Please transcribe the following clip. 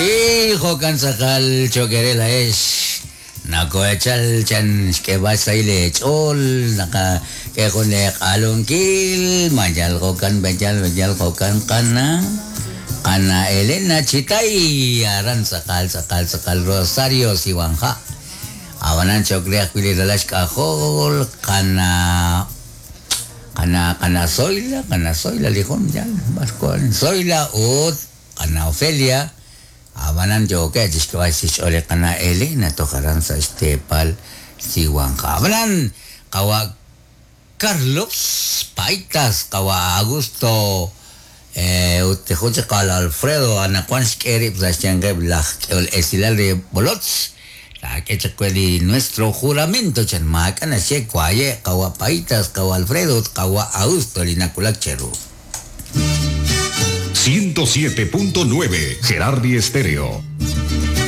Jo'kan b'i', jo'kan tz'aqal cho'q eere laa'ex. Nakoohechal chan xk'eeb'al xsahil eech'ool, naqak'e jun leeq'alunkil, ma yal jo'kan b'eyal b'eyal jo'kan qana qana Elena Chitay aran tz'aqal tz'aqal tz'aqal Rosario Siwanja. Ab'anan cho'q re ajwi' li ralal xk'ajol qana qana qana Zoila, qana Zoila li jun yal b'ar wan Zoila ut qana Ofelia. Ab'anan yookeb' chi xk'eb'al chi xch'ool li qana Elena toj aran sa' xteepal Siwanja. Ab'anan qawa' Carlos Paitas, qawa' Augusto ut jun chik qawa' Alfredo anaqwan xk'e rib' sa' xyanqeb' laj k'ehol esilal re b'olotz. Taak'e chaq we li nuestro juramento chan maak'a' naxye waye' qawa' Paitas, qawa' Alfredo ut qawa' Augusto li nawulak cheru. 107.9 Gerardi Estéreo.